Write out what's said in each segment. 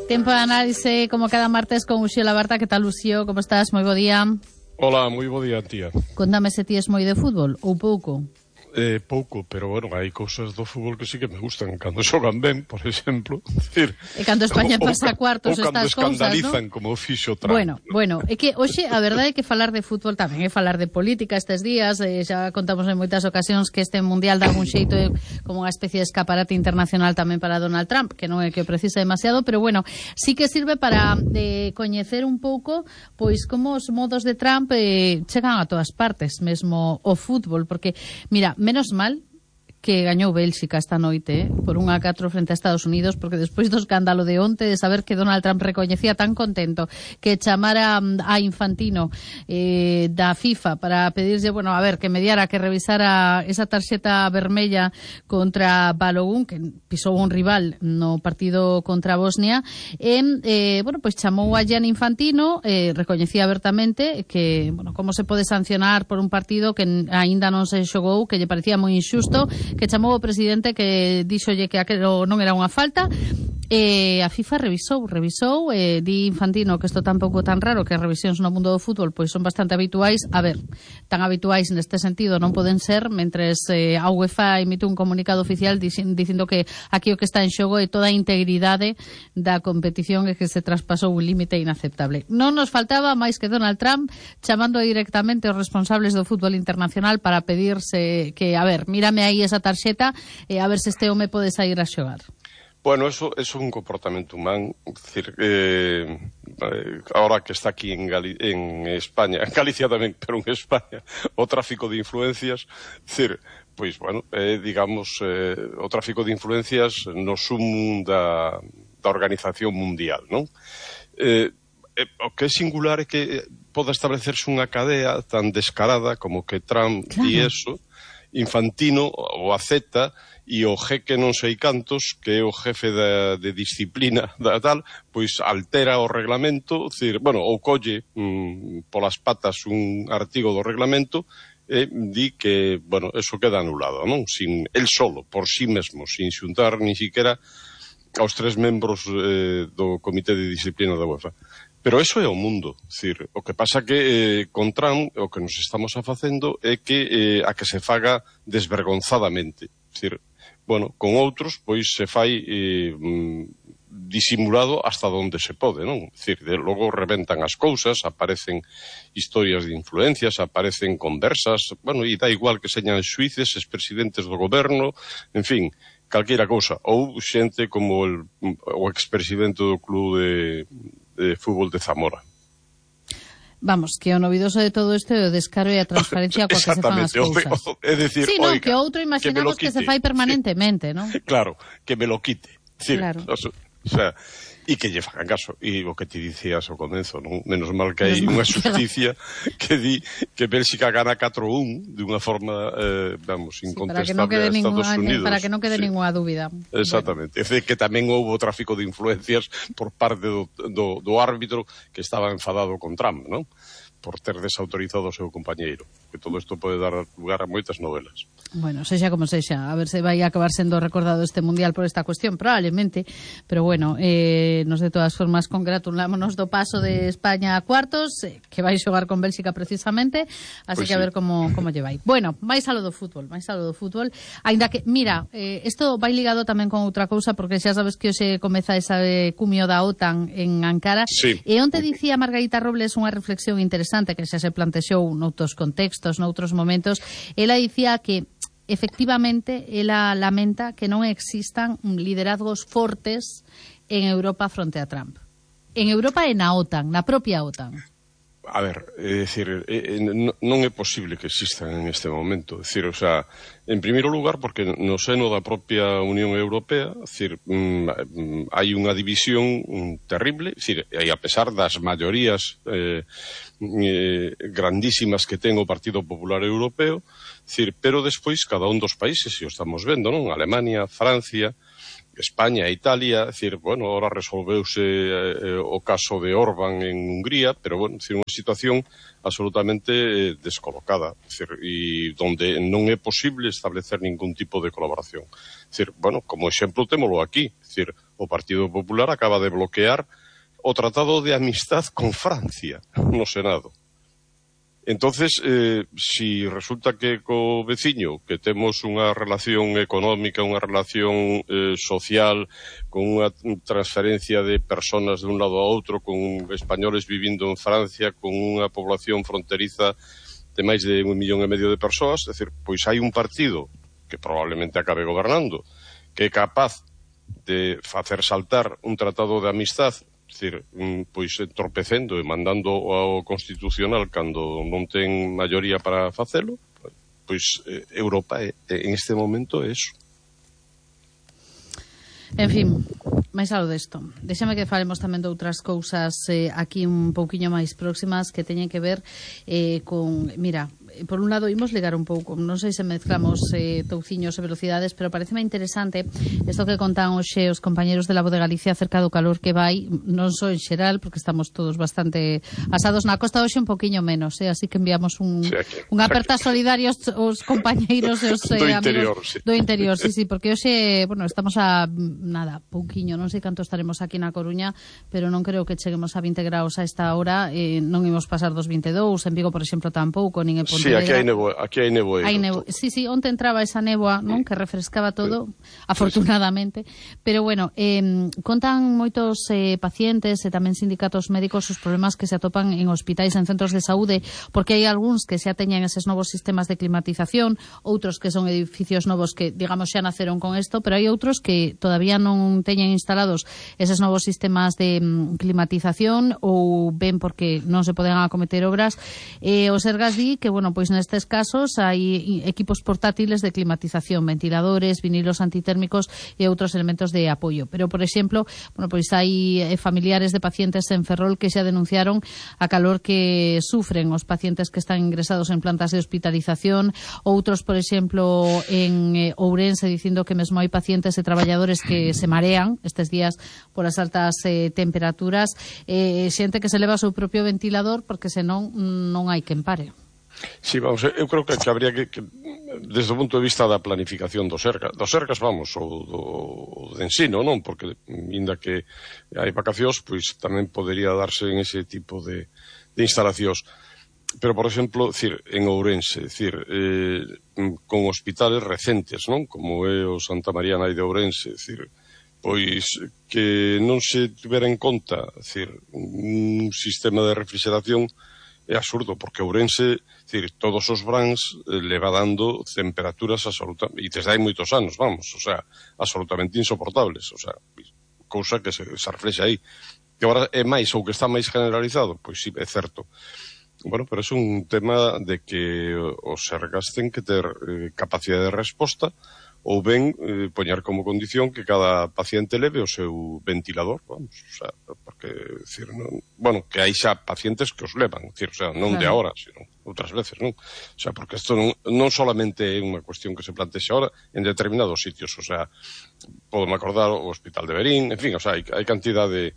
Tempo de análise, como cada martes, con Uxío Labarta. Que tal, Uxío? Como estás? Moi bo día. Hola, moi bo día, tía. Contame se ti es moi de fútbol ou pouco. Pouco, pero bueno, hai cousas do fútbol que sí que me gustan. Cando xogan ben, por exemplo. Decir, E cando España pasa a cuartos, estas cousas, ¿no? escandalizan, como fixo Trump. Bueno, é que hoxe a verdade é que falar de fútbol tamén é falar de política estes días. Xa contamos en moitas ocasións que este mundial dá un xeito como unha especie de escaparate internacional tamén para Donald Trump, que non é que o precisa demasiado, pero bueno, sí que sirve para coñecer un pouco pois como os modos de Trump chegan a todas partes, mesmo o fútbol, porque mira, menos mal que gañou Bélxica esta noite por 1-4 frente a Estados Unidos, porque despois do escándalo de onte, de saber que Donald Trump recoñecía tan contento que chamara a Infantino da FIFA para pedirlle, bueno, a ver, que mediara, que revisara esa tarxeta vermella contra Balogun, que pisou un rival no partido contra Bosnia, bueno, pois chamou a Gianni Infantino, recoñecía abertamente que, bueno, como se pode sancionar por un partido que aínda non se xogou, que lle parecía moi injusto, que chamou o presidente, que díxolle que aquilo non era unha falta. A FIFA revisou, di Infantino que isto tampouco tan raro, que as revisións no mundo do fútbol pois son bastante habituais. A ver, tan habituais neste sentido non poden ser, mentres a UEFA emite un comunicado oficial dicindo que aquí o que está en xogo é toda a integridade da competición e que se traspasou un límite inaceptable. Non nos faltaba máis que Donald Trump chamando directamente aos responsables do fútbol internacional para pedirse que, a ver, mírame aí esa tarxeta e a ver se este home pode sair a xogar. Bueno, eso é un comportamento humano. Es decir, ahora que está aquí en España, en Galicia tamén, pero en España, o tráfico de influencias, es decir, pois, bueno, digamos, o tráfico de influencias no sumum da Organización Mundial, non? O que é singular é que poda establecerse unha cadea tan descarada como que Trump di eso, Infantino o acepta, e o jeque non sei cantos, que é o jefe de disciplina da tal, pois altera o reglamento, decir, bueno, ou colle polas patas un artigo do reglamento e di que, bueno, eso queda anulado, non? Sin el solo, por sí mesmo, sin xuntar ni siquiera aos 3 membros do Comité de Disciplina da UEFA. Pero eso é o mundo, decir, o que pasa que con Trump o que nos estamos facendo é que a que se faga desvergonzadamente, decir, bueno, con outros pois se fai disimulado hasta onde se pode, non? Decir, logo reventan as cousas, aparecen historias de influencias, aparecen conversas, bueno, e dá igual que señan xuíces, expresidentes do goberno, en fin, calquera cousa, ou xente como o expresidente do club de fútbol de Zamora. Vamos, que o novidoso de todo isto é o descaro e a transparencia coa que se fan as cousas. É dicir, sí, oiga, que outro imaginamos que se fai permanentemente, non? Claro, que me lo quite. Decir, claro. O sea, e que lle fagan caso. E o que te dicías ao comezo, non? Menos mal que hai unha justicia que di que Bélxica gana 4-1 de unha forma, vamos, incontestable a Estados Unidos. Para que non quede ninguna dúbida. Exactamente. Bueno. É que tamén houve tráfico de influencias por parte do árbitro que estaba enfadado con Trump, non? Por ter desautorizado o seu compañeiro. Que todo isto pode dar lugar a moitas novelas. Bueno, sexa como sexa, a ver se vai acabar sendo recordado este mundial por esta cuestión, probablemente, pero bueno, nos de todas formas congratulámonos do paso de España a cuartos, que vai xogar con Bélxica precisamente, así pues que a ver como lle vai. Bueno, máis algo do fútbol, aínda que, mira, isto vai ligado tamén con outra cousa, porque xa sabes que hoxe comeza esa cumio da OTAN en Ankara, sí. E onte dicía Margarita Robles unha reflexión interesante que xa se plantexou noutros contextos, noutros momentos. Ela dicía que efectivamente, ela lamenta que non existan liderazgos fortes en Europa fronte a Trump. En Europa e na OTAN, na propia OTAN. A ver, é dicir, non é posible que existan en este momento. É dicir, o sea, en primeiro lugar, porque no seno da propia Unión Europea, é dicir, hai unha división terrible, é dicir, e a pesar das maiorías grandísimas que ten o Partido Popular Europeo, é dicir, pero despois cada un dos países, e o estamos vendo, non? Alemania, Francia, España e Italia, é dicir, bueno, ahora resolveuse o caso de Orbán en Hungría, pero, bueno, é dicir, unha situación absolutamente descolocada, é dicir, e donde non é posible establecer ningún tipo de colaboración. É dicir, bueno, como exemplo témolo aquí, é dicir, o Partido Popular acaba de bloquear o Tratado de Amistad con Francia no Senado. Entonces, si resulta que co veciño que temos unha relación económica, unha relación social, con unha transferencia de personas de un lado a outro, con españoles vivindo en Francia, con unha población fronteriza de máis de 1,5 millón de persoas, é dicir, pois hai un partido que probablemente acabe gobernando, que é capaz de facer saltar un tratado de amistad, é dicir, pois entorpecendo e mandando ao Constitucional cando non ten maioría para facelo, pois Europa en este momento é eso. En fin, máis algo desto. Déxame que falemos tamén de outras cousas aquí un pouquiño máis próximas que teñen que ver con... Mira, por un lado, imos ligar un pouco, non sei se mezclamos touciños e velocidades, pero pareceme interesante isto que contan hoxe os compañeros de La Voz de Galicia acerca do calor que vai, non só en xeral, porque estamos todos bastante asados na costa, hoxe un poquinho menos, así que enviamos unha aperta solidaria aos compañeiros e os amigos do interior, sí, porque hoxe, bueno, estamos a nada, pouquiño, non sei canto estaremos aquí na Coruña, pero non creo que cheguemos a 20 graus a esta hora, non imos pasar dos 22, en Vigo, por exemplo, tampouco, nin en Pontevedra. Sí, aquí hai neboeiro. Sí, onte entraba esa néboa, non, que refrescaba todo, afortunadamente. Pero bueno, contan moitos pacientes e tamén sindicatos médicos os problemas que se atopan en hospitais, en centros de saúde, porque hai algúns que xa teñen eses novos sistemas de climatización, outros que son edificios novos que, digamos, xa naceron con isto, pero hai outros que todavía non teñen instalados eses novos sistemas de climatización ou ben porque non se poden acometer obras. O Sergas di que, bueno, pois nestes casos hai equipos portátiles de climatización, ventiladores, vinilos antitérmicos e outros elementos de apoio. Pero, por exemplo, bueno, pois hai familiares de pacientes en Ferrol que xa denunciaron a calor que sufren os pacientes que están ingresados en plantas de hospitalización, outros, por exemplo, en Ourense, dicindo que mesmo hai pacientes e traballadores que se marean estes días por as altas temperaturas, xente que se leva o seu propio ventilador porque senón non hai quen pare. Sí, vamos, eu creo que habría que desde o punto de vista da planificación dos Sergas, vamos, ou de ensino, non? Porque, inda que hai vacacións, pois tamén podería darse en ese tipo de instalacións. Pero, por exemplo, en Ourense, con hospitales recentes, non? Como é o Santa María Nai de Ourense, pois que non se tivera en conta, un sistema de refrigeración é absurdo, porque Ourense, todos os brans leva dando temperaturas absolutamente, e desde hai moitos anos, vamos, absolutamente insoportables, cousa que se reflexa aí. Que agora é máis, ou que está máis generalizado, pois sí, é certo. Bueno, pero é un tema de que os Sergas ten que ter capacidade de resposta ou ben poñer como condición que cada paciente leve o seu ventilador, vamos, porque, que hai xa pacientes que os levan, non de agora, sino outras veces, non? Porque isto non solamente é unha cuestión que se plantexa agora en determinados sitios, podemos acordar o Hospital de Verín, en fin, hai cantidad de,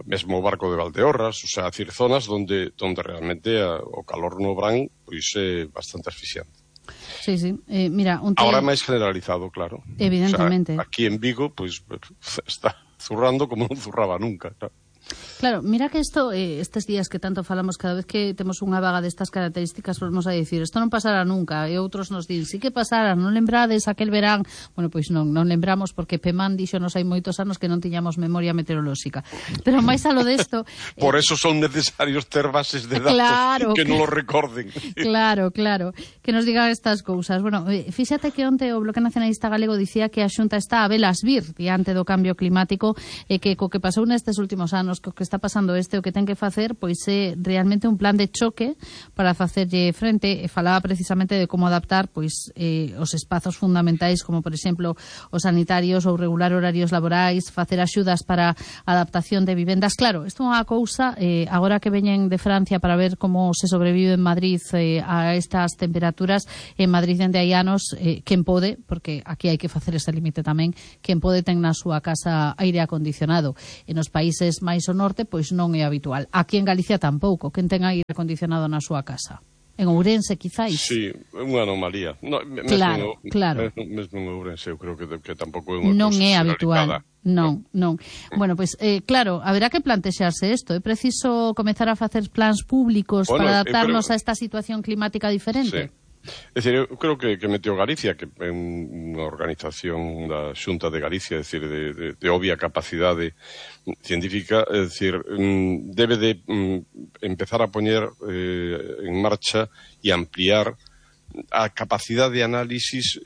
mesmo o Barco de Valdeorras, zonas donde realmente o calor no verán pois é bastante asfixiante. Sí. Mira, ahora máis generalizado, claro. Evidentemente. Aquí en Vigo, pois, está zurrando como non zurraba nunca, claro. Claro, mira que isto, estes días que tanto falamos, cada vez que temos unha vaga destas características, volvemos a dicir, isto non pasará nunca, e outros nos din, sí que pasará, non lembrades aquel verán. Bueno, pois non lembramos, porque Pemán dixonos hai moitos anos que non tiñamos memoria meteorolóxica. Pero máis alo desto... Por eso son necesarios ter bases de datos, claro, que non lo recorden. Claro, que nos digan estas cousas. Bueno, fíxate que onte o Bloque Nacionalista Galego dicía que a Xunta está a velas vir diante do cambio climático, e que co que pasou nestes últimos anos, co que está pasando o que ten que facer, pois é realmente un plan de choque para facerlle frente, e falaba precisamente de como adaptar pois os espazos fundamentais, como por exemplo os sanitarios, ou regular horarios laborais, facer axudas para adaptación de vivendas. Claro, isto é unha cousa, agora que veñen de Francia para ver como se sobrevive en Madrid a estas temperaturas, en Madrid dende hai anos, quen pode, porque aquí hai que facer ese límite tamén, quen pode ten na súa casa aire acondicionado. En os países máis ao norte, pois non é habitual. Aquí en Galicia tampouco, quen ten aire acondicionado na súa casa. En Ourense, quizáis. Sí, unha anomalía. No, claro. Mesmo en Ourense, eu creo que tampouco é unha non cousa é habitual. Non. Bueno, pois, claro, haberá que plantexarse isto. É preciso comezar a facer plans públicos para adaptarnos a esta situación climática diferente? Sí. É dicir, eu creo que Meteo Galicia, que é unha organización da Xunta de Galicia, é dicir, de obvia capacidade científica, é dicir, debe de empezar a poñer en marcha e ampliar a capacidade de análisis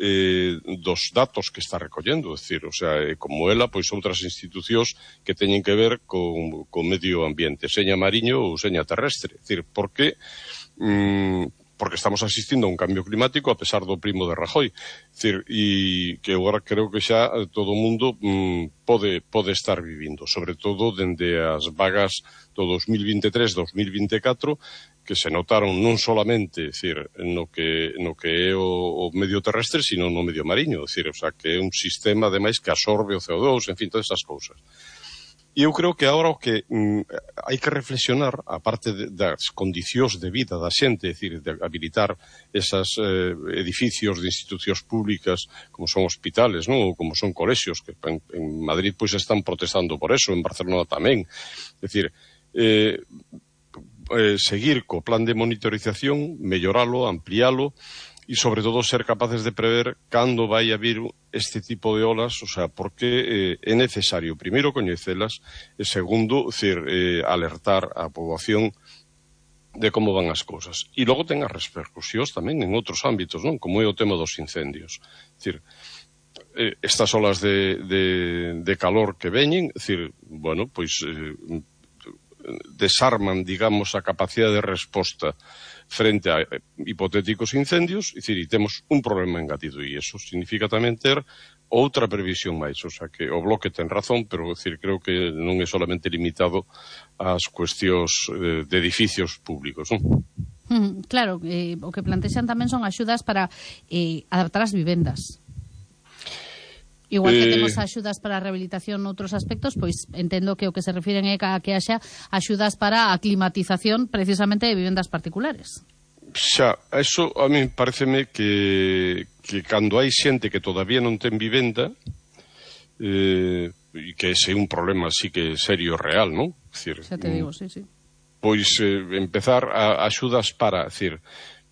dos datos que está recollendo, é dicir, o sea, como ela, pois outras institucións que teñen que ver con medio ambiente, seña mariño ou seña terrestre, é dicir, porque estamos asistindo a un cambio climático a pesar do primo de Rajoy. É dicir, e que agora creo que xa todo o mundo pode estar vivindo, sobre todo dende as vagas do 2023-2024, que se notaron non solamente, é dicir, no que é o medio terrestre, sino no medio mariño, é dicir, o sea, que é un sistema, ademais, que absorbe o CO2, en fin, todas esas cousas. E eu creo que agora o que hai que reflexionar, aparte das condicións de vida da xente, é dicir, de habilitar esas edificios de institucións públicas como son hospitales, non? Ou como son colexios, que en Madrid pois están protestando por eso, en Barcelona tamén. É dicir, seguir co plan de monitorización, melloralo, amplialo, e sobre todo ser capaces de prever cando vai a vir este tipo de olas, o sea, porque é necesario, primeiro, coñecelas, e segundo, alertar a poboación de como van as cousas. E logo ten as repercusións tamén en outros ámbitos, non? Como é o tema dos incendios. É dicir, estas olas de calor que veñen, é dicir, bueno, pois desarman, digamos, a capacidade de resposta frente a hipotéticos incendios, e temos un problema engadido, e iso significa tamén ter outra previsión máis, o sea que o Bloque ten razón, pero creo que non é solamente limitado ás cuestións de edificios públicos, non? Claro, o que plantexan tamén son axudas para adaptar as vivendas. Igual que temos axudas para a rehabilitación noutros aspectos, pois entendo que o que se refiren é a que haxa axudas para a climatización precisamente de vivendas particulares. Xa, eso a mí pareceme que cando hai xente que todavía non ten vivenda, e que ese é un problema así que serio real, non? Xa te digo, sí. Pois empezar a axudas para,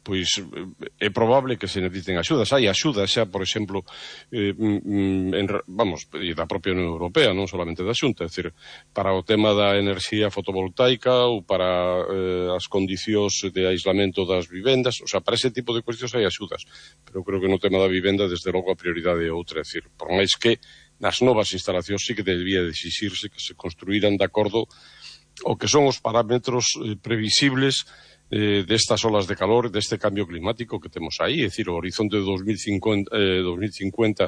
pois é probable que se necesiten axudas. Hai axudas xa, por exemplo, da propia Unión Europea, non solamente da Xunta, é dicir, para o tema da enerxía fotovoltaica ou para as condicións de aislamento das vivendas, o sea, para ese tipo de cuestións hai axudas. Pero creo que no tema da vivenda, desde logo, a prioridade é outra, é dicir, por máis que nas novas instalacións sí que debía de exixirse que se construíran de acordo ao que son os parámetros previsibles destas olas de calor, deste cambio climático que temos aí, é dicir, o horizonte de 2050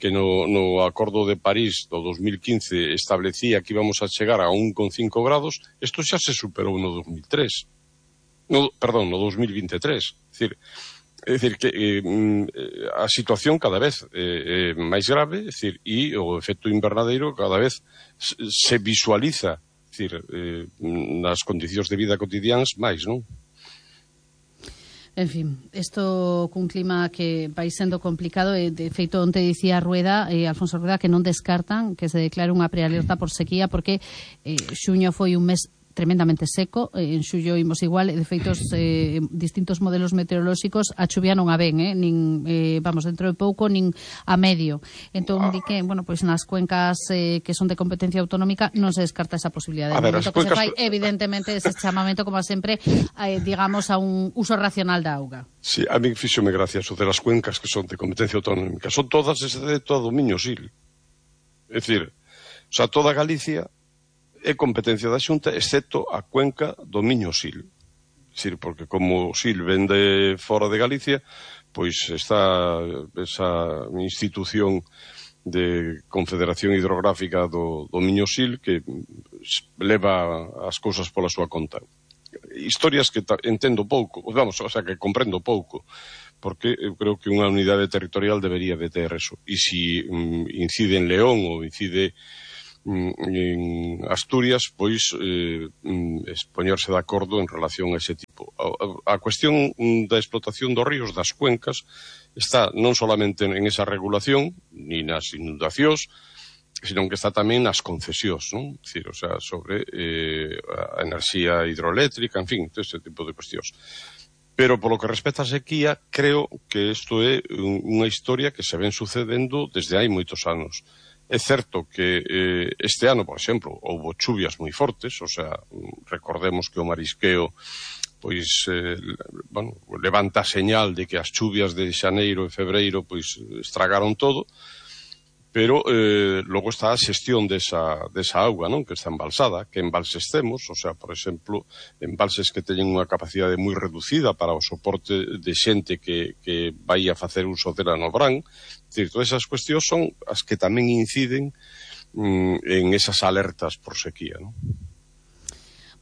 que no Acordo de París do 2015 establecía que íbamos a chegar a 1,5 grados, isto xa se superou no 2023. No 2023. É dicir que a situación cada vez é máis grave, é dicir, e o efecto invernadeiro cada vez se visualiza, nas condicións de vida cotidianas máis, non? En fin, isto cun clima que vai sendo complicado, e de feito onte dicía Alfonso Rueda, que non descartan que se declare unha prealerta por sequía, porque xuño foi un mes tremendamente seco, en xullo imos igual, de feito distintos modelos meteorolóxicos a chuvia non a ven, nin dentro de pouco, nin a medio. Entón, di que, pois nas cuencas que son de competencia autonómica non se descarta esa posibilidade. No momento que se fai, evidentemente, ese chamamento, como sempre, digamos, a un uso racional da auga. Sí, a mí fíxome gracia eso de las cuencas que son de competencia autonómica. Son todas excepto a do Miño Sil. É dicir, o sea, toda Galicia é competencia da Xunta, excepto a cuenca do Miño Sil. É dicir, porque como o Sil vende fora de Galicia, pois está esa institución de Confederación Hidrográfica do Miño Sil que leva as cousas pola súa conta. Historias que entendo pouco, o sea, que comprendo pouco, porque eu creo que unha unidade territorial debería de ter eso. E si incide en León ou incide en Asturias, pois poñerse de acordo en relación a ese tipo. A cuestión da explotación dos ríos, das cuencas, está non solamente en esa regulación, ni nas inundacións, sino que está tamén nas concesións, non? Dicir, o sea, sobre a enerxía hidroeléctrica, en fin, todo este tipo de cuestións. Pero, polo que respecta a sequía, creo que isto é unha historia que se ven sucedendo desde hai moitos anos. É certo que este ano, por exemplo, houbo chuvias moi fortes, o sea, recordemos que o marisqueo pois, levanta a señal de que as chuvias de xaneiro e febreiro pois estragaron todo, pero logo está a xestión desa auga, non? Que está embalsada, que embalses temos, o sea, por exemplo, embalses que teñen unha capacidade moi reducida para o soporte de xente que vai a facer uso dela no verán. É dicir, todas esas cuestións son as que tamén inciden en esas alertas por sequía, non?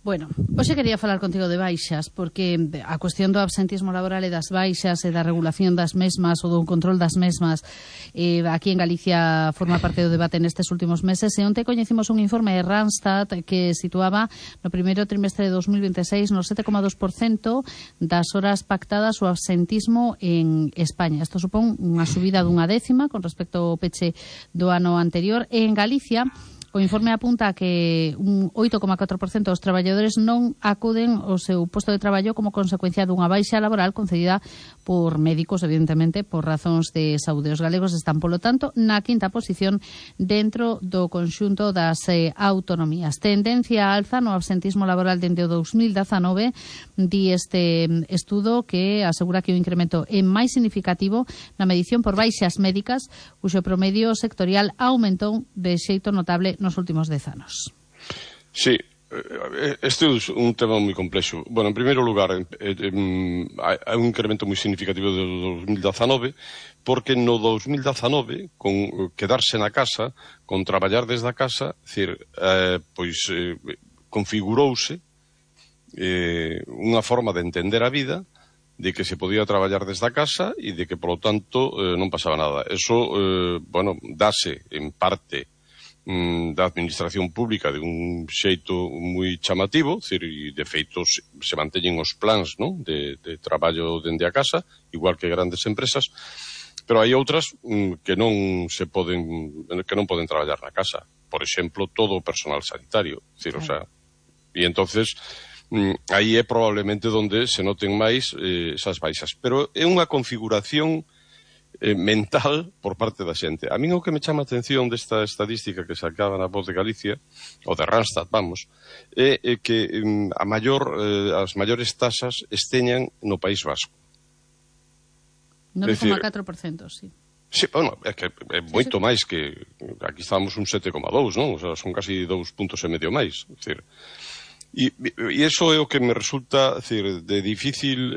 Bueno, hoxe quería falar contigo de baixas, porque a cuestión do absentismo laboral e das baixas e da regulación das mesmas ou do control das mesmas aquí en Galicia forma parte do debate nestes últimos meses. E onte coñecimos un informe de Randstad que situaba no primeiro trimestre de 2026 no 7,2% das horas pactadas o absentismo en España. Isto supón unha subida dunha décima con respecto ao peche do ano anterior. E en Galicia o informe apunta que un 8,4% dos traballadores non acuden ao seu posto de traballo como consecuencia dunha baixa laboral concedida por médicos, evidentemente, por razóns de saúde. Os galegos están, polo tanto, na quinta posición dentro do conxunto das autonomías. Tendencia alza no absentismo laboral dende o 2019, di este estudo que asegura que o incremento é máis significativo na medición por baixas médicas, cuxo promedio sectorial aumentou de xeito notable nos últimos 10 anos. Sí, este é un tema moi complexo. Bueno, en primeiro lugar, hai un incremento moi significativo do 2019, porque no 2019, con quedarse na casa, con traballar desde a casa, configurouse unha forma de entender a vida, de que se podía traballar desde a casa e de que, polo tanto, non pasaba nada. Eso, dase en parte da administración pública de un xeito moi chamativo, e de feito se manteñen os plans, non? de traballo dende a casa, igual que grandes empresas, pero hai outras que non poden traballar na casa. Por exemplo, todo o personal sanitario, o sea, e entonces aí é probablemente onde se noten máis esas baixas, pero é unha configuración mental por parte da xente. A min o que me chama a atención desta estadística que sacaba na Voz de Galicia, ou de Randstad, é que as maiores tasas esteñan no País Vasco. 9,4%, sí. Sí, bueno, é que é moito máis que aquí estamos un 7,2, non? O sea, son casi 2 puntos e medio máis. E iso é o que me resulta de difícil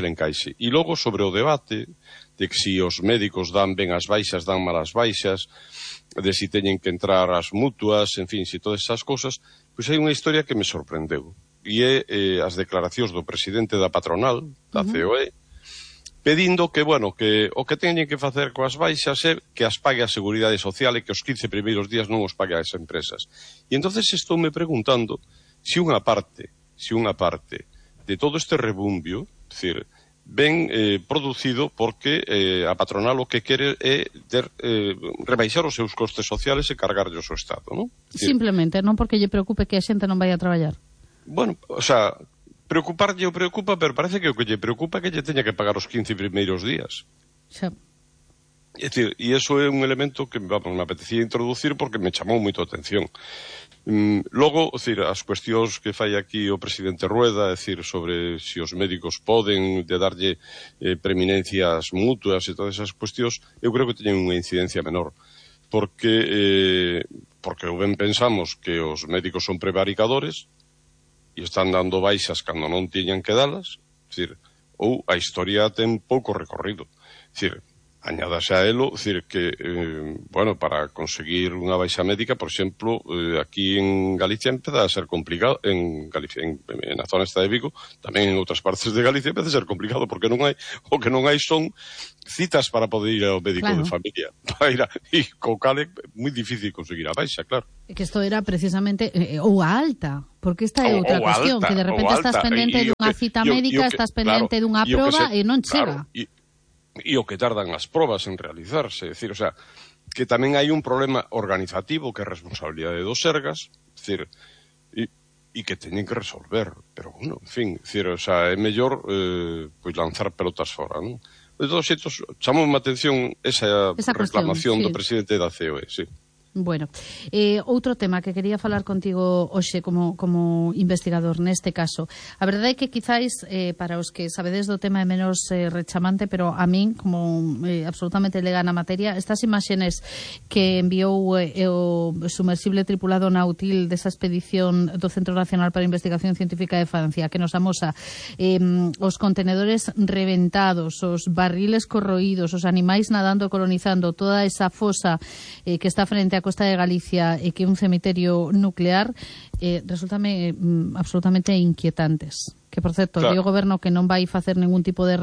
encaixe. E logo sobre o debate de que si os médicos dan ben as baixas, dan malas baixas, de si teñen que entrar as mutuas, en fin, si todas esas cosas, pois hai unha historia que me sorprendeu. E é as declaracións do presidente da patronal, da COE, pedindo que, que o que teñen que facer coas baixas é que as pague a Seguridade Social e que os 15 primeiros días non os pague as empresas. E entonces estou me preguntando se unha parte de todo este rebumbio, ben producido porque a patronal o que quere é rebaixar os seus costes sociales e cargarllos ao Estado, non? Simplemente, non porque lle preocupe que a xente non vai a traballar. Bueno, o sea, preocuparlle preocupa, pero parece que o que lle preocupa é que lle teña que pagar os 15 primeiros días. Xa. É dicir, e iso é un elemento que me apetecía introducir porque me chamou moito a atención. Logo, as cuestións que fai aquí o presidente Rueda, sobre se os médicos poden de darlle preeminencias mutuas e todas esas cuestións, eu creo que teñen unha incidencia menor. Porque ben pensamos que os médicos son prevaricadores e están dando baixas cando non tiñan que dalas, ou a historia ten pouco recorrido. añádase a elo, decir que, bueno, para conseguir unha baixa médica, por exemplo, aquí en Galicia empeza a ser complicado, en Galicia, na zona esta de Vigo, tamén en outras partes de Galicia empeza a ser complicado, porque non hai, o que non hai son citas para poder ir ao médico de familia, para ir e co cal é moi difícil conseguir a baixa, claro. Que isto era precisamente ou a alta, porque esta é outra cuestión, que de repente estás pendente dunha cita médica, estás pendente dunha proba e non chega. E o que tardan as probas en realizarse, é dicir, o sea, que tamén hai un problema organizativo que é responsabilidade dos Sergas, é dicir, e que teñen que resolver, pero, bueno, en fin, é dicir, o sea, é mellor pois lanzar pelotas fora, non? De todos xeitos, chamou a atención esa reclamación do presidente da COE, sí. Bueno, outro tema que quería falar contigo hoxe como investigador neste caso. A verdade é que quizáis para os que sabedes do tema é menos rechamante, pero a min, como absolutamente lega na materia, estas imaxenes que enviou o sumersible tripulado Nautil desa expedición do Centro Nacional para a Investigación Científica de Francia, que nos amosa os contenedores reventados, os barriles corroídos, os animais nadando, colonizando toda esa fosa que está frente a Costa de Galicia e que é un cemiterio nuclear, resultame absolutamente inquietantes. Que, por certo, claro, o goberno que non vai facer ningún tipo de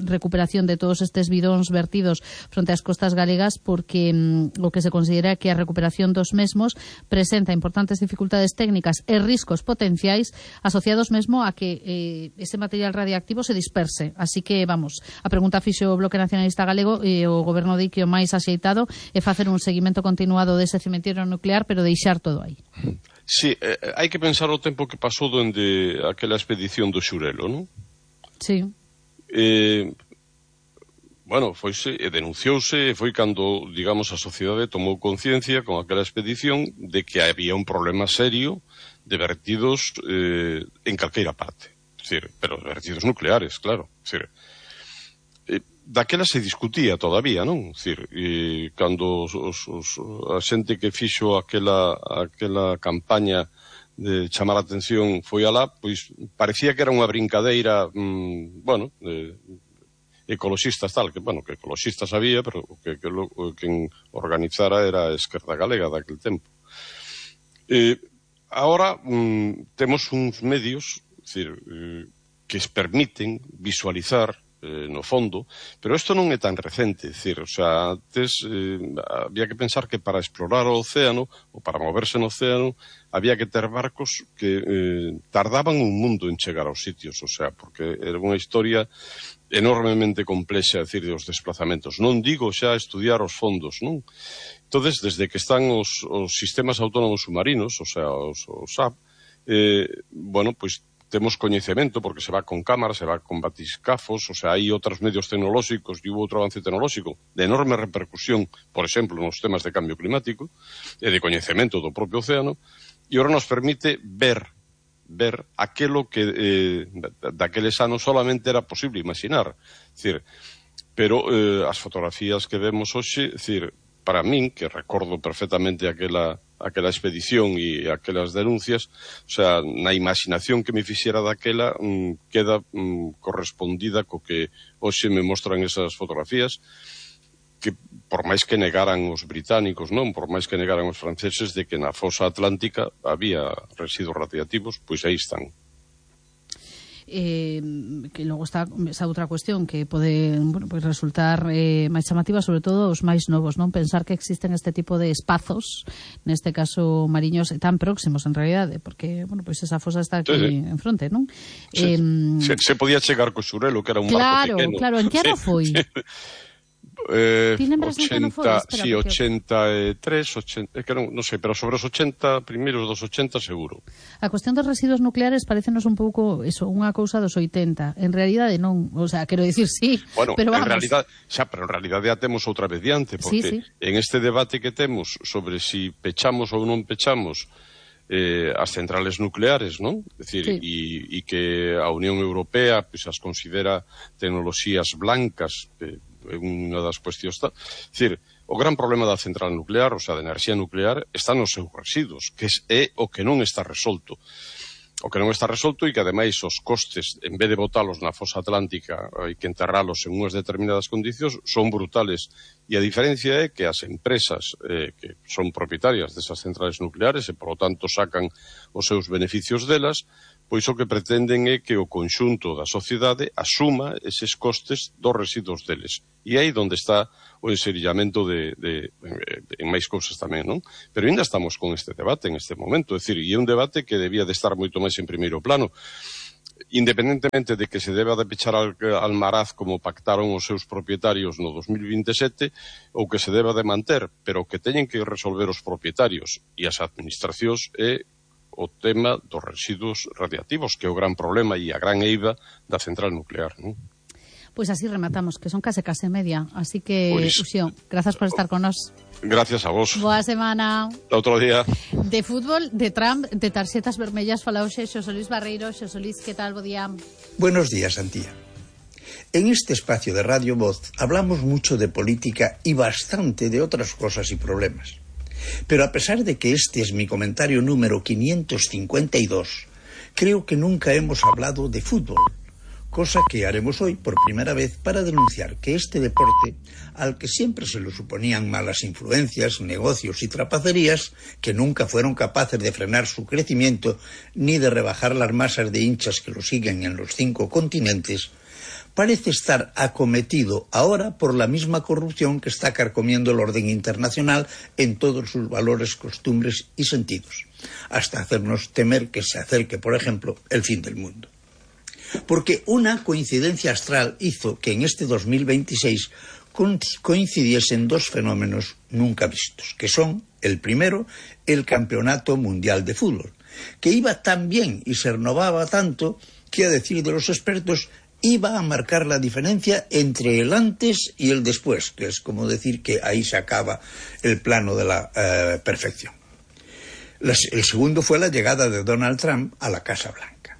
recuperación de todos estes bidóns vertidos fronte ás costas galegas, porque o que se considera que a recuperación dos mesmos presenta importantes dificultades técnicas e riscos potenciais asociados mesmo a que ese material radiactivo se disperse. Así que, vamos, a pregunta fixo o Bloque Nacionalista Galego e o goberno di que o máis axeitado é facer un seguimento continuado dese cemiterio nuclear, pero deixar todo aí. Sí, hai que pensar o tempo que pasou dende aquela expedición do Xurelo, non? Sí. Bueno, foise e denunciouse, e foi cando, digamos, a sociedade tomou conciencia con aquela expedición de que había un problema serio de vertidos en calqueira parte. Es decir, pero vertidos nucleares, claro. Es decir, daquela se discutía todavía, non? Es decir, cando a xente que fixo aquela campaña de chamar a atención foi alá, pois parecía que era unha brincadeira, bueno, ecoloxistas tal, que, bueno, que ecoloxistas había, pero que quen organizara era a Esquerda Galega daquel tempo. Ahora temos uns medios, es decir, que permiten visualizar no fondo, pero isto non é tan recente, é dicir, o sea, antes había que pensar que para explorar o océano ou para moverse no océano había que ter barcos que tardaban un mundo en chegar aos sitios, o sea, porque era unha historia enormemente complexa, é dicir, os desplazamentos. Non digo xa estudiar os fondos, non? Entonces, desde que están os sistemas autónomos submarinos, o sea, os SAP, bueno, pois temos coñecemento, porque se va con cámaras, se va con batiscafos, o sea, hai outros medios tecnolóxicos e outro avance tecnolóxico de enorme repercusión, por exemplo, nos temas de cambio climático e de coñecemento do propio océano, e agora nos permite ver aquelo que daqueles anos solamente era posible imaginar. Es decir, pero as fotografías que vemos hoxe, es decir, para min, que recordo perfectamente aquela expedición e aquelas denuncias, o sea, na imaginación que me fixera daquela queda correspondida co que hoxe me mostran esas fotografías, que por máis que negaran os británicos, non, por máis que negaran os franceses de que na fosa atlántica había residuos radiactivos, pois aí están. Que logo está esa outra cuestión que pode, bueno, pues resultar máis chamativa, sobre todo os máis novos, non? Pensar que existen este tipo de espazos, neste caso mariños, tan próximos en realidade, porque, bueno, pues esa fosa está aquí en fronte, non? Sí. Se podía chegar co Xurelo, que era un barco pequeno. Claro, en que ano foi? Ti lembras en que ano foi? Sí, 83, 80, que non sei, pero sobre os 80, primeiros dos 80 seguro. A cuestión dos residuos nucleares parécenos un pouco eso, unha cousa dos 80. En realidade non, o sea, quero dicir sí, bueno, pero vamos. Pero en realidade ya temos outra vez diante, porque sí. En este debate que temos sobre si pechamos ou non pechamos as centrales nucleares, non? É dicir, e que a Unión Europea pues, as considera tecnoloxías blancas, unha das cuestións está. É dicir, o gran problema da central nuclear, o sea, da enerxía nuclear, está nos seus residuos, que é o que non está resolto. o que non está resolto e que ademais os costes, en vez de botalos na fosa atlántica e que enterralos en unhas determinadas condicións, son brutales. E a diferencia é que as empresas que son propietarias desas centrales nucleares e, por lo tanto, sacan os seus beneficios delas, pois o que pretenden é que o conxunto da sociedade asuma eses costes dos residuos deles. E aí onde está o enserillamento en máis cousas tamén, non? Pero ainda estamos con este debate en este momento, é dicir, e é un debate que debía de estar moito máis en primeiro plano, independentemente de que se deba de pechar Almaraz como pactaron os seus propietarios no 2027 ou que se deba de manter, pero o que teñen que resolver os propietarios e as administracións é o tema dos residuos radiactivos, que é o gran problema e a gran eiva da central nuclear, non? Pois así rematamos, que son case media. Así que, Uxío, grazas por estar con nós. Gracias a vos. Boa semana. Outro día. De fútbol, de Trump, de tarxetas vermellas, fala hoxe Xosé Luis Barreiro. Xosé Luis, que tal? Bo día. Buenos días, Antía. En este espacio de Radio Voz hablamos mucho de política y bastante de otras cosas y problemas. Pero a pesar de que este es mi comentario número 552, creo que nunca hemos hablado de fútbol, cosa que haremos hoy por primera vez para denunciar que este deporte, al que siempre se le suponían malas influencias, negocios y trapacerías, que nunca fueron capaces de frenar su crecimiento ni de rebajar las masas de hinchas que lo siguen en los 5 continentes, parece estar acometido ahora por la misma corrupción que está carcomiendo el orden internacional en todos sus valores, costumbres y sentidos, hasta hacernos temer que se acerque, por ejemplo, el fin del mundo. Porque una coincidencia astral hizo que en este 2026 coincidiesen 2 fenómenos nunca vistos, que son, el primero, el Campeonato Mundial de Fútbol, que iba tan bien y se renovaba tanto que, a decir de los expertos, iba a marcar la diferencia entre el antes y el después, que es como decir que ahí se acaba el plano de la perfección. El segundo fue la llegada de Donald Trump a la Casa Blanca.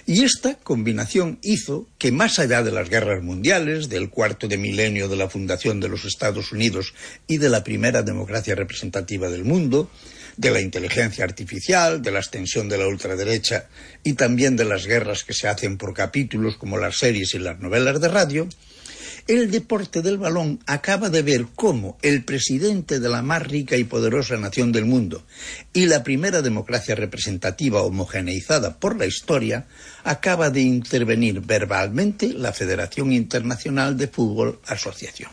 Y esta combinación hizo que, más allá de las guerras mundiales, del cuarto de milenio de la fundación de los Estados Unidos y de la primera democracia representativa del mundo, de la inteligencia artificial, de la extensión de la ultraderecha y también de las guerras que se hacen por capítulos como las series y las novelas de radio, el deporte del balón acaba de ver cómo el presidente de la más rica y poderosa nación del mundo y la primera democracia representativa homogeneizada por la historia acaba de intervenir verbalmente la Federación Internacional de Fútbol Asociación,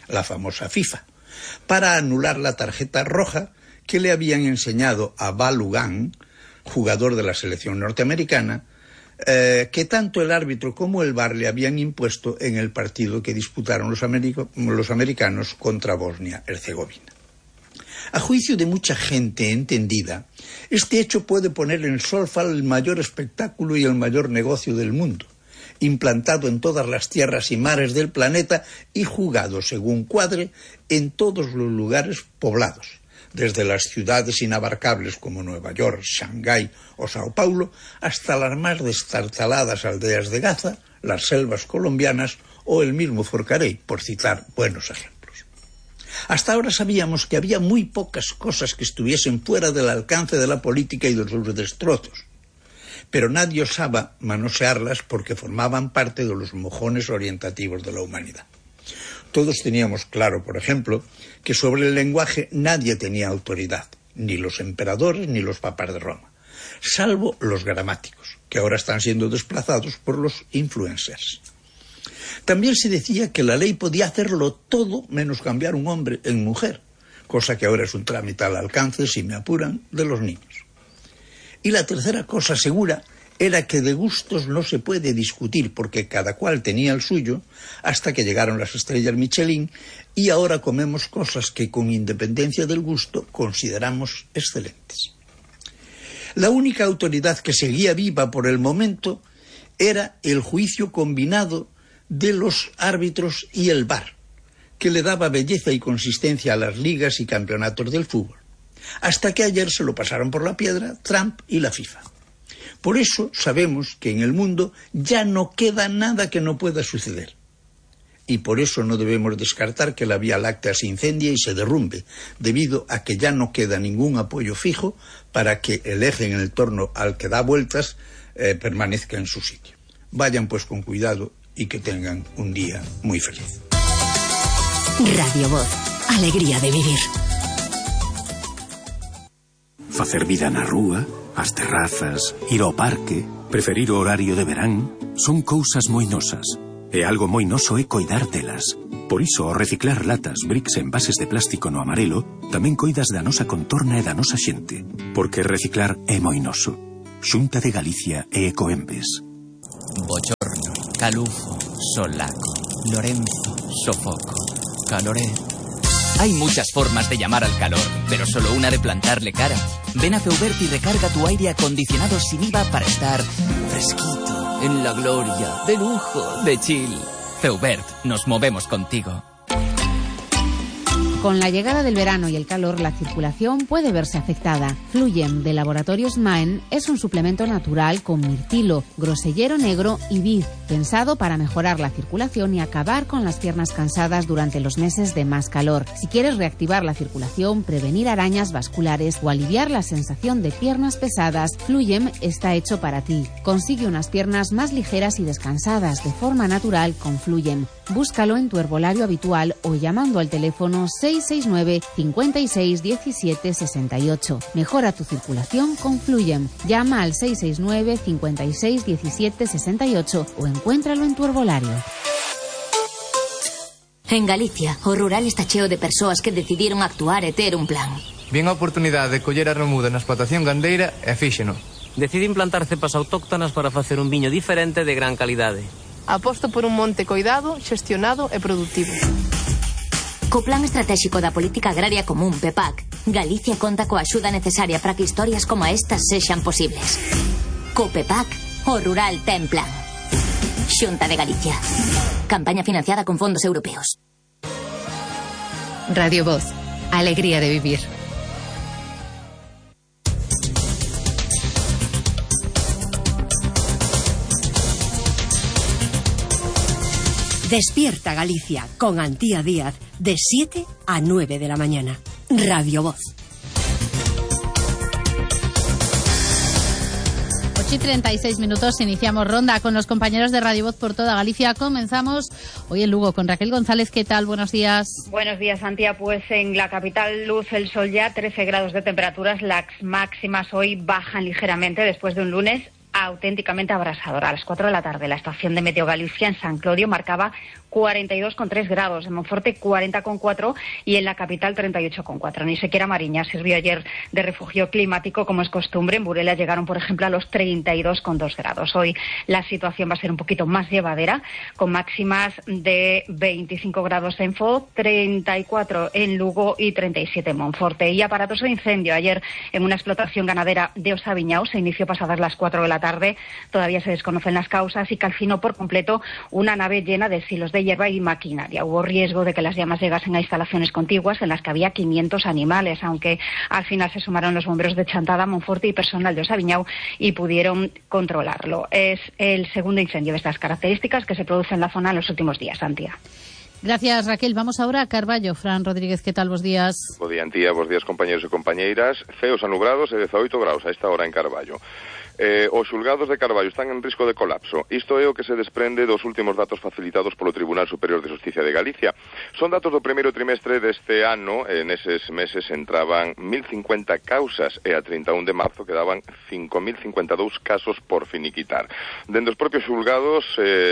la famosa FIFA, para anular la tarjeta roja que le habían enseñado a Balogun, jugador de la selección norteamericana, que tanto el árbitro como el VAR le habían impuesto en el partido que disputaron los americanos contra Bosnia-Herzegovina. A juicio de mucha gente entendida, este hecho puede poner en solfa el mayor espectáculo y el mayor negocio del mundo, implantado en todas las tierras y mares del planeta y jugado según cuadre en todos los lugares poblados, desde las ciudades inabarcables como Nueva York, Shanghái o Sao Paulo, hasta las más destartaladas aldeas de Gaza, las selvas colombianas o el mismo Forcarey, por citar buenos ejemplos. Hasta ahora sabíamos que había muy pocas cosas que estuviesen fuera del alcance de la política y de sus destrozos, pero nadie osaba manosearlas porque formaban parte de los mojones orientativos de la humanidad. Todos teníamos claro, por ejemplo, que sobre el lenguaje nadie tenía autoridad, ni los emperadores ni los papas de Roma, salvo los gramáticos, que ahora están siendo desplazados por los influencers. También se decía que la ley podía hacerlo todo menos cambiar un hombre en mujer, cosa que ahora es un trámite al alcance, si me apuran, de los niños. Y la tercera cosa segura era que de gustos no se puede discutir porque cada cual tenía el suyo hasta que llegaron las estrellas Michelin y ahora comemos cosas que con independencia del gusto consideramos excelentes. La única autoridad que seguía viva por el momento era el juicio combinado de los árbitros y el VAR, que le daba belleza y consistencia a las ligas y campeonatos del fútbol, hasta que ayer se lo pasaron por la piedra Trump y la FIFA. Por eso sabemos que en el mundo ya no queda nada que no pueda suceder. y por eso no debemos descartar que la Vía Láctea se incendie y se derrumbe, debido a que ya no queda ningún apoyo fijo para que el eje en el torno al que da vueltas permanezca en su sitio. Vayan pues con cuidado y que tengan un día muy feliz. Radio Voz, alegría de vivir. Facer vida na rúa, as terrazas, ir ao parque, preferir o horario de verán, son cousas moi nosas. E algo moi noso é coidar delas. Por iso, ao reciclar latas, bricks e envases de plástico no amarelo, tamén coidas da nosa contorna e da nosa xente. Porque reciclar é moi noso. Xunta de Galicia e Ecoembes. Bochorno, calufo, solaco, Lorenzo, sofoco, caloré. Hay muchas formas de llamar al calor, pero solo una de plantarle cara. Ven a Feubert y recarga tu aire acondicionado sin IVA para estar fresquito, en la gloria, de lujo, de chill. Feubert, nos movemos contigo. Con la llegada del verano y el calor, la circulación puede verse afectada. Fluyen de Laboratorios Maen es un suplemento natural con mirtilo, grosellero negro y vid, pensado para mejorar la circulación y acabar con las piernas cansadas durante los meses de más calor. Si quieres reactivar la circulación, prevenir arañas vasculares o aliviar la sensación de piernas pesadas, Fluyem está hecho para ti. Consigue unas piernas más ligeras y descansadas de forma natural con Fluyem. Búscalo en tu herbolario habitual o llamando al teléfono 669 56 17 68. Mejora tu circulación con Fluyem. Llama al 669 56 17 68 o encuéntralo en tu herbolario. En Galicia, o rural está cheo de persoas que decidiron actuar e ter un plan. Bien a oportunidade de coller a remuda na explotación gandeira e fíxeno. Decide implantar cepas autóctonas para facer un viño diferente de gran calidade. Aposto por un monte coidado, xestionado e produtivo. Co Plan Estratégico da Política Agraria Común, PEPAC, Galicia conta coa axuda necesaria para que historias como estas sexan posibles. Co PEPAC, o rural ten plan. Xunta de Galicia. Campaña financiada con fondos europeos. Radio Voz, alegría de vivir. Despierta Galicia con Antía Díaz de 7 a 9 de la mañana. Radio Voz. 8:36 minutos, iniciamos ronda con los compañeros de Radio Voz por toda Galicia. Comenzamos hoy en Lugo con Raquel González. ¿Qué tal? Buenos días. Buenos días, Antía. Pues en la capital luce el sol ya, 13 grados de temperaturas. Las máximas hoy bajan ligeramente después de un lunes auténticamente abrasador. A las 4 de la tarde, la estación de Meteo Galicia en San Clodio marcaba 42,3 grados, en Monforte 40,4 y en la capital 38,4. Ni siquiera Mariña sirvió ayer de refugio climático como es costumbre. En Burela llegaron, por ejemplo, a los 32,2 grados. Hoy la situación va a ser un poquito más llevadera, con máximas de 25 grados en Foz, 34 en Lugo y 37 en Monforte. Y aparatoso incendio ayer en una explotación ganadera de Osaviñao. Se inició pasadas las 4 de la tarde. Todavía se desconocen las causas y calcinó por completo una nave llena de silos de hierba y maquinaria. Hubo riesgo de que las llamas llegasen a instalaciones contiguas en las que había 500 animales, aunque al final se sumaron los bomberos de Chantada, Monforte y personal de Osaviñao y pudieron controlarlo. Es el segundo incendio de estas características que se produce en la zona en los últimos días, Antía. Gracias, Raquel. Vamos ahora a Carballo. Fran Rodríguez, ¿qué tal? Bos días. Bo día, Antía. Bos días, compañeros e compañeiras. Ceos anubrados e 18 graus a esta hora en Carballo. Os xulgados de Carballo están en risco de colapso. Isto é o que se desprende dos últimos datos facilitados polo Tribunal Superior de Xusticia de Galicia. Son datos do primeiro trimestre deste ano. Neses meses entraban 1.050 causas e a 31 de marzo quedaban 5.052 casos por finiquitar. Dende os propios xulgados,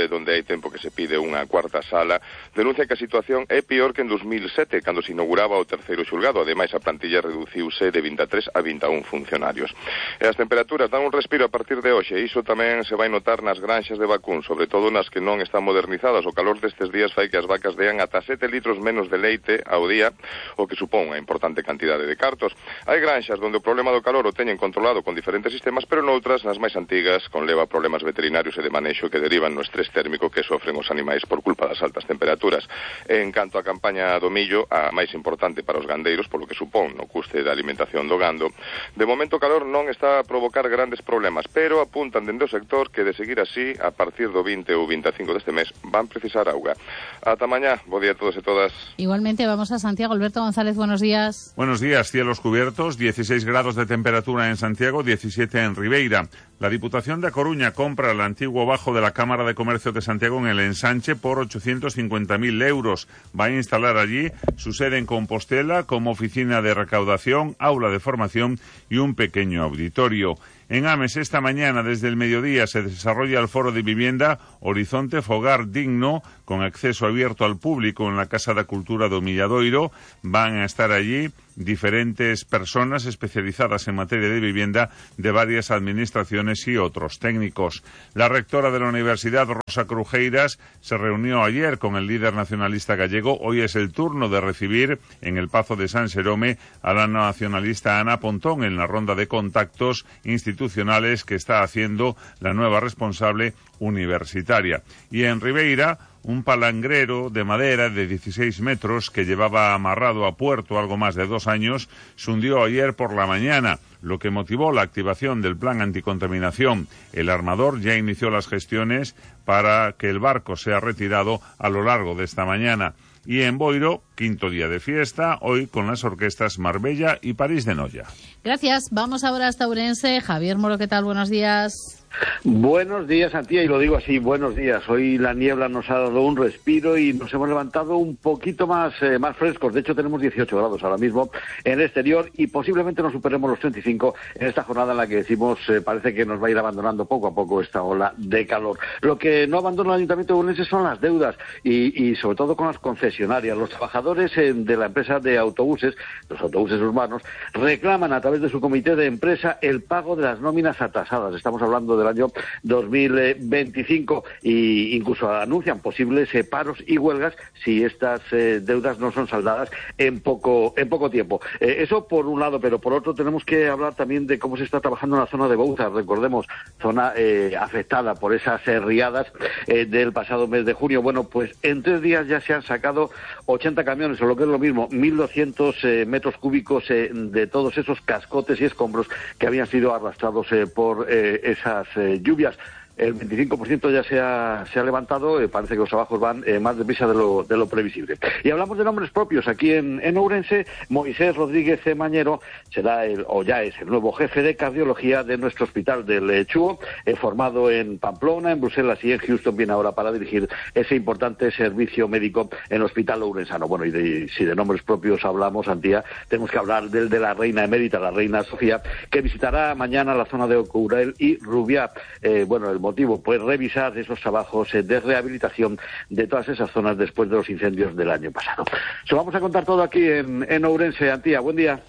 donde hai tempo que se pide unha cuarta sala, denuncia que a situación é pior que en 2007, cando se inauguraba o terceiro xulgado. Ademais, a plantilla reduciuse de 23 a 21 funcionarios. E as temperaturas dan un respiro a partir de hoxe. Iso tamén se vai notar nas granxas de vacún, sobre todo nas que non están modernizadas. O calor destes días fai que as vacas dean ata 7 litros menos de leite ao día, o que supón unha importante cantidade de cartos. Hai granxas onde o problema do calor o teñen controlado con diferentes sistemas, pero noutras, nas máis antigas, conleva problemas veterinarios e de manexo que derivan no estrés térmico que sofren os animais por culpa das altas temperaturas. En canto á campaña do millo, a máis importante para os gandeiros, polo que supón no custe da alimentación do gando, de momento o calor non está a provocar grandes problemas problemas, pero apuntan dende o sector que de seguir así, a partir do 20 ou 25 deste mes, van precisar auga. Ata mañá, bo día a todos e todas. Igualmente, vamos a Santiago. Alberto González, buenos días. Buenos días, cielos cubiertos, 16 grados de temperatura en Santiago, 17 en Ribeira. La Diputación de A Coruña compra el antiguo bajo de la Cámara de Comercio de Santiago en el Ensanche por 850.000 euros. Va a instalar allí su sede en Compostela como oficina de recaudación, aula de formación y un pequeño auditorio. En Ames, esta mañana, desde el mediodía, se desarrolla el foro de vivienda Horizonte Fogar Digno, con acceso abierto al público en la Casa da Cultura do Milladoiro. Van a estar allí diferentes personas especializadas en materia de vivienda de varias administraciones y otros técnicos. La rectora de la Universidad, Rosa Crujeiras, se reunió ayer con el líder nacionalista gallego. Hoy es el turno de recibir en el Pazo de San Xerome a la nacionalista Ana Pontón en la ronda de contactos institucionales que está haciendo la nueva responsable universitaria. Y en Ribeira, un palangrero de madera de 16 metros que llevaba amarrado a puerto algo más de 2 años se hundió ayer por la mañana, lo que motivó la activación del plan anticontaminación. El armador ya inició las gestiones para que el barco sea retirado a lo largo de esta mañana. Y en Boiro, quinto día de fiesta, hoy con las orquestas Marbella y París de Noia. Gracias. Vamos ahora hasta Ourense. Javier Moro, ¿qué tal? Buenos días. Buenos días, Antía, y lo digo así, buenos días. Hoy la niebla nos ha dado un respiro y nos hemos levantado un poquito más frescos. De hecho, tenemos 18 grados ahora mismo en el exterior y posiblemente nos superemos los 35 en esta jornada en la que decimos parece que nos va a ir abandonando poco a poco esta ola de calor. Lo que no abandona el Ayuntamiento de Ourense son las deudas y sobre todo con las concesionarias. Los trabajadores de la empresa de autobuses, los autobuses urbanos, reclaman a través de su comité de empresa el pago de las nóminas atrasadas. Estamos hablando del año 2025 e incluso anuncian posibles paros y huelgas si estas deudas no son saldadas en poco tiempo. Eso por un lado, pero por otro tenemos que hablar también de cómo se está trabajando en la zona de Bouzas. Recordemos, zona afectada por esas riadas del pasado mes de junio. Bueno, pues en 3 días ya se han sacado 80 camiones, o lo que es lo mismo, 1.200 metros cúbicos de todos esos cascotes y escombros que habían sido arrastrados por esas lluvias. El 25% ya se ha levantado, parece que los trabajos van más deprisa de lo previsible. Y hablamos de nombres propios. Aquí en Ourense, Moisés Rodríguez Mañero será ya es el nuevo jefe de cardiología de nuestro hospital del Chúo, formado en Pamplona, en Bruselas y en Houston, viene ahora para dirigir ese importante servicio médico en el hospital ourensano. Bueno, y si de nombres propios hablamos, Antía, tenemos que hablar del de la reina emérita, la reina Sofía, que visitará mañana la zona de Ocourel y Rubiá. El motivo, pues revisar esos trabajos de rehabilitación de todas esas zonas después de los incendios del año pasado. Se lo vamos a contar todo aquí en Ourense. Antía, buen día.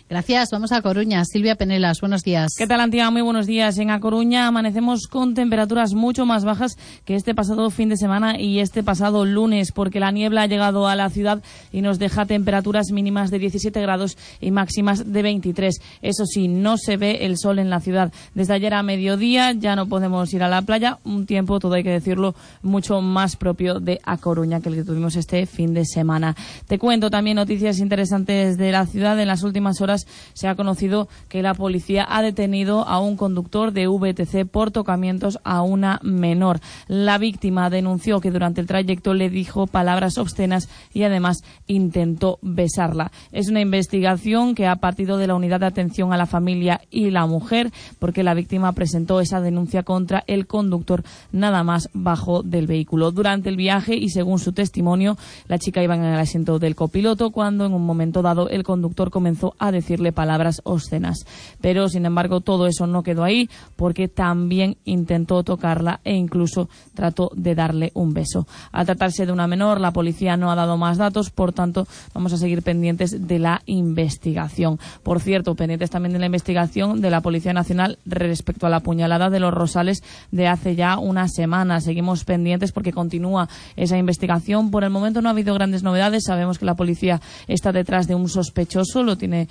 Gracias. Vamos a Coruña. Silvia Penelas, buenos días. ¿Qué tal, Antía? Muy buenos días. En A Coruña amanecemos con temperaturas mucho más bajas que este pasado fin de semana y este pasado lunes, porque la niebla ha llegado a la ciudad y nos deja temperaturas mínimas de 17 grados y máximas de 23. Eso sí, no se ve el sol en la ciudad. Desde ayer a mediodía ya no podemos ir a la playa. Un tiempo, todo hay que decirlo, mucho más propio de A Coruña que el que tuvimos este fin de semana. Te cuento también noticias interesantes de la ciudad. En las últimas horas se ha conocido que la policía ha detenido a un conductor de VTC por tocamientos a una menor. La víctima denunció que durante el trayecto le dijo palabras obscenas y además intentó besarla. Es una investigación que ha partido de la Unidad de Atención a la Familia y la Mujer, porque la víctima presentó esa denuncia contra el conductor nada más bajo del vehículo. Durante el viaje, y según su testimonio, la chica iba en el asiento del copiloto cuando en un momento dado el conductor comenzó a decirle palabras obscenas. Pero, sin embargo, todo eso no quedó ahí, porque también intentó tocarla e incluso trató de darle un beso. Al tratarse de una menor, la policía no ha dado más datos, por tanto, vamos a seguir pendientes de la investigación. Por cierto, pendientes también de la investigación de la Policía Nacional respecto a la puñalada de Los Rosales de hace ya una semana. Seguimos pendientes porque continúa esa investigación. Por el momento no ha habido grandes novedades. Sabemos que la policía está detrás de un sospechoso, lo tiene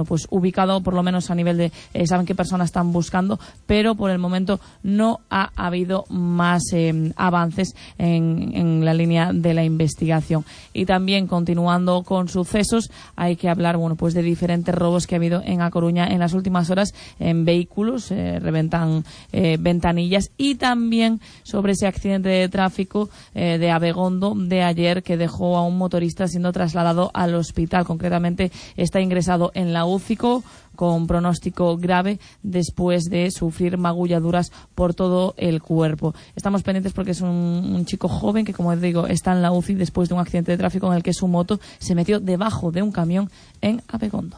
pues ubicado por lo menos a nivel de saben qué personas están buscando, pero por el momento no ha habido más avances en la línea de la investigación. Y también, continuando con sucesos, hay que hablar pues de diferentes robos que ha habido en A Coruña en las últimas horas en vehículos, reventan ventanillas, y también sobre ese accidente de tráfico de Abegondo de ayer, que dejó a un motorista siendo trasladado al hospital. Concretamente está ingresado en la UCI con pronóstico grave después de sufrir magulladuras por todo el cuerpo. Estamos pendientes porque es un chico joven que, como digo, está en la UCI después de un accidente de tráfico en el que su moto se metió debajo de un camión en Abegondo.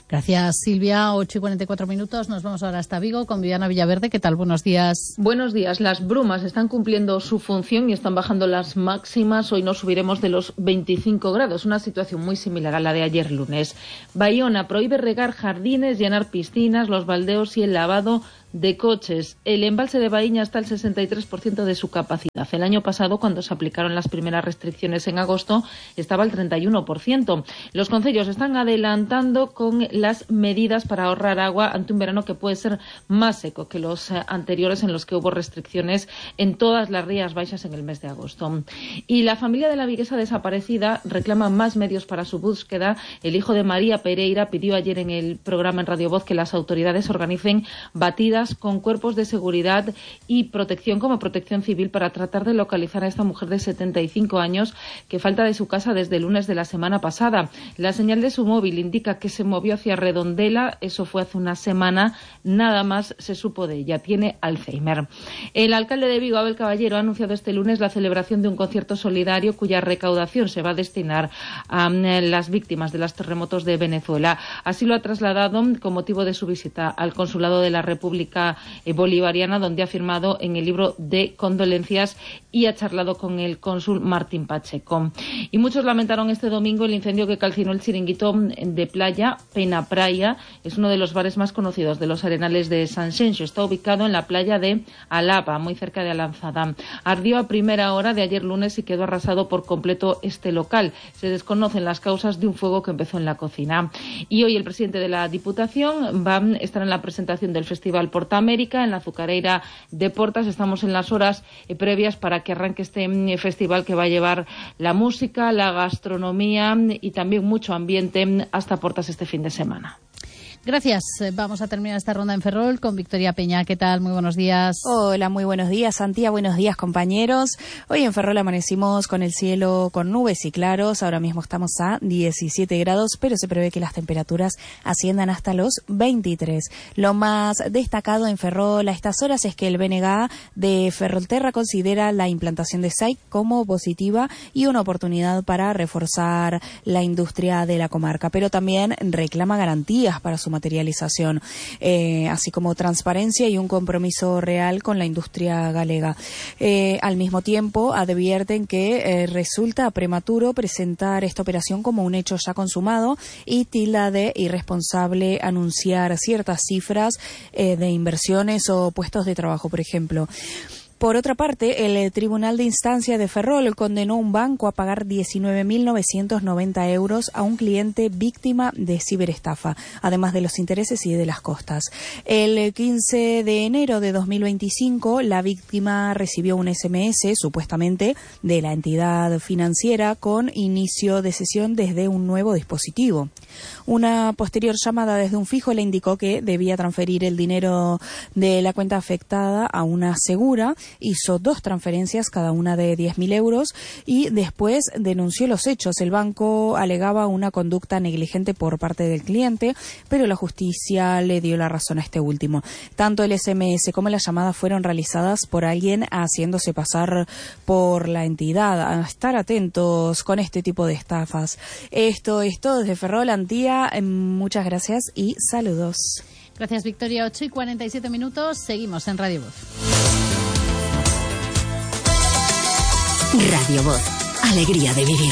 Gracias, Silvia. 8:44. Nos vamos ahora hasta Vigo con Viviana Villaverde. ¿Qué tal? Buenos días. Buenos días. Las brumas están cumpliendo su función y están bajando las máximas. Hoy no subiremos de los 25 grados, una situación muy similar a la de ayer lunes. Bayona prohíbe regar jardines, llenar piscinas, los baldeos y el lavado de coches. El embalse de Baíña está al 63% de su capacidad. El año pasado, cuando se aplicaron las primeras restricciones en agosto, estaba al 31%. Los concellos están adelantando con las medidas para ahorrar agua ante un verano que puede ser más seco que los anteriores, en los que hubo restricciones en todas las Rías Baixas en el mes de agosto. Y la familia de la viguesa desaparecida reclama más medios para su búsqueda. El hijo de María Pereira pidió ayer en el programa en Radio Voz que las autoridades organicen batidas con cuerpos de seguridad y protección, como Protección Civil, para tratar de localizar a esta mujer de 75 años que falta de su casa desde el lunes de la semana pasada. La señal de su móvil indica que se movió hacia Redondela. Eso fue hace una semana. Nada más se supo de ella. Tiene Alzheimer. El alcalde de Vigo, Abel Caballero, ha anunciado este lunes la celebración de un concierto solidario cuya recaudación se va a destinar a las víctimas de los terremotos de Venezuela. Así lo ha trasladado con motivo de su visita al Consulado de la República Bolivariana, donde ha firmado en el libro de condolencias y ha charlado con el cónsul Martín Pacheco. Y muchos lamentaron este domingo el incendio que calcinó el chiringuito de playa Pena Praia. Es uno de los bares más conocidos de los Arenales de Sanxenxo. Está ubicado en la playa de Alaba, muy cerca de Alanzada. Ardió a primera hora de ayer lunes y quedó arrasado por completo este local. Se desconocen las causas de un fuego que empezó en la cocina. Y hoy el presidente de la Diputación va a estar en la presentación del Festival Porta América en la azucareira de Portas. Estamos en las horas previas para que arranque este festival que va a llevar la música, la gastronomía y también mucho ambiente hasta Portas este fin de semana. Gracias. Vamos a terminar esta ronda en Ferrol con Victoria Peña. ¿Qué tal? Muy buenos días. Hola, muy buenos días, Santía. Buenos días, compañeros. Hoy en Ferrol amanecimos con el cielo con nubes y claros. Ahora mismo estamos a 17 grados, pero se prevé que las temperaturas asciendan hasta los 23. Lo más destacado en Ferrol a estas horas es que el BNG de Ferrolterra considera la implantación de SAIC como positiva y una oportunidad para reforzar la industria de la comarca, pero también reclama garantías para su materialización, así como transparencia y un compromiso real con la industria galega. Al mismo tiempo, advierten que resulta prematuro presentar esta operación como un hecho ya consumado y tilda de irresponsable anunciar ciertas cifras de inversiones o puestos de trabajo, por ejemplo. Por otra parte, el Tribunal de Instancia de Ferrol condenó a un banco a pagar 19.990 euros a un cliente víctima de ciberestafa, además de los intereses y de las costas. El 15 de enero de 2025, la víctima recibió un SMS, supuestamente, de la entidad financiera con inicio de sesión desde un nuevo dispositivo. Una posterior llamada desde un fijo le indicó que debía transferir el dinero de la cuenta afectada a una segura. Hizo 2 transferencias, cada una de 10.000 euros, y después denunció los hechos. El banco alegaba una conducta negligente por parte del cliente, pero la justicia le dio la razón a este último. Tanto el SMS como la llamada fueron realizadas por alguien haciéndose pasar por la entidad. A estar atentos con este tipo de estafas. Esto es todo desde Ferrol, Antía. Muchas gracias y saludos. Gracias, Victoria. 8:47. Seguimos en Radio Voz. Radio Voz, alegría de vivir.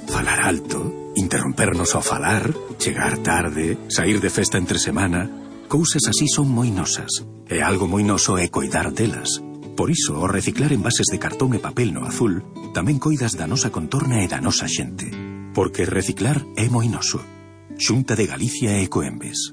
Falar alto, interrompernos ao falar, chegar tarde, sair de festa entre semana, cousas así son moi nosas. E algo moi noso é coidar delas. Por iso, ao reciclar envases de cartón e papel no azul, tamén coidas da nosa contorna e da nosa xente. Porque reciclar é moi noso. Xunta de Galicia e Ecoembes.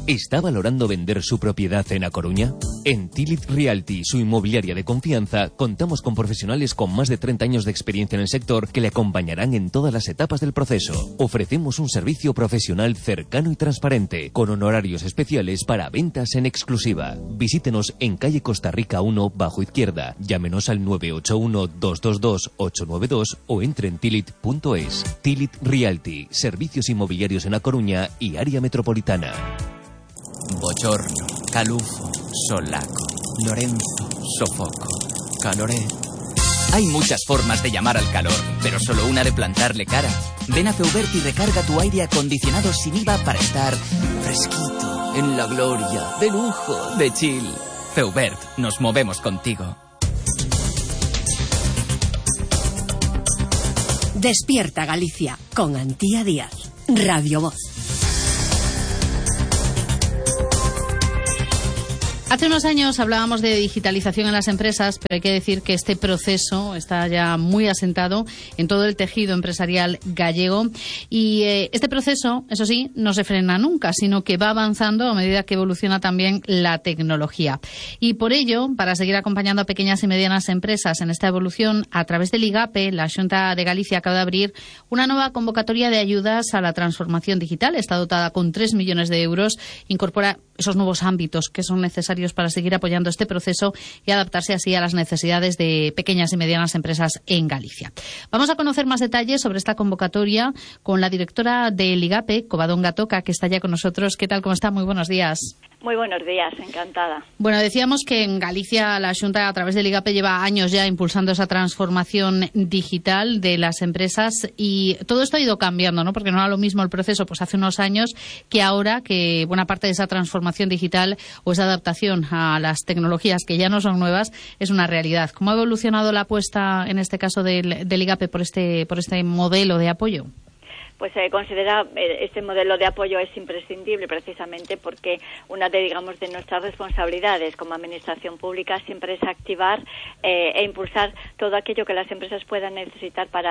¿Está valorando vender su propiedad en A Coruña? En Tilit Realty, su inmobiliaria de confianza, contamos con profesionales con más de 30 años de experiencia en el sector que le acompañarán en todas las etapas del proceso. Ofrecemos un servicio profesional cercano y transparente, con honorarios especiales para ventas en exclusiva. Visítenos en calle Costa Rica 1, bajo izquierda. Llámenos al 981-222-892 o entre en tilit.es. Tilit Realty, servicios inmobiliarios en A Coruña y área metropolitana. Bochorno, calufo, solaco, Lorenzo, sofoco, caloré. Hay muchas formas de llamar al calor, pero solo una de plantarle cara. Ven a Feubert y recarga tu aire acondicionado sin IVA para estar fresquito, en la gloria, de lujo, de chill. Feubert, nos movemos contigo. Despierta Galicia con Antía Díaz, Radio Voz. Hace unos años hablábamos de digitalización en las empresas, pero hay que decir que este proceso está ya muy asentado en todo el tejido empresarial gallego y este proceso, eso sí, no se frena nunca, sino que va avanzando a medida que evoluciona también la tecnología. Y por ello, para seguir acompañando a pequeñas y medianas empresas en esta evolución, a través del IGAPE, la Xunta de Galicia acaba de abrir una nueva convocatoria de ayudas a la transformación digital. Está dotada con 3 millones de euros, incorpora esos nuevos ámbitos que son necesarios para seguir apoyando este proceso y adaptarse así a las necesidades de pequeñas y medianas empresas en Galicia. Vamos a conocer más detalles sobre esta convocatoria con la directora del IGAPE, Covadonga Toca, que está ya con nosotros. ¿Qué tal? ¿Cómo está? Muy buenos días. Muy buenos días, encantada. Bueno, decíamos que en Galicia la Xunta, a través del IGAPE, lleva años ya impulsando esa transformación digital de las empresas y todo esto ha ido cambiando, ¿no? Porque no era lo mismo el proceso pues hace unos años que ahora, que buena parte de esa transformación digital o esa adaptación a las tecnologías que ya no son nuevas es una realidad. ¿Cómo ha evolucionado la apuesta, en este caso del IGAPE, por este modelo de apoyo? Pues se considera este modelo de apoyo es imprescindible precisamente porque una de nuestras responsabilidades como administración pública siempre es activar e impulsar todo aquello que las empresas puedan necesitar para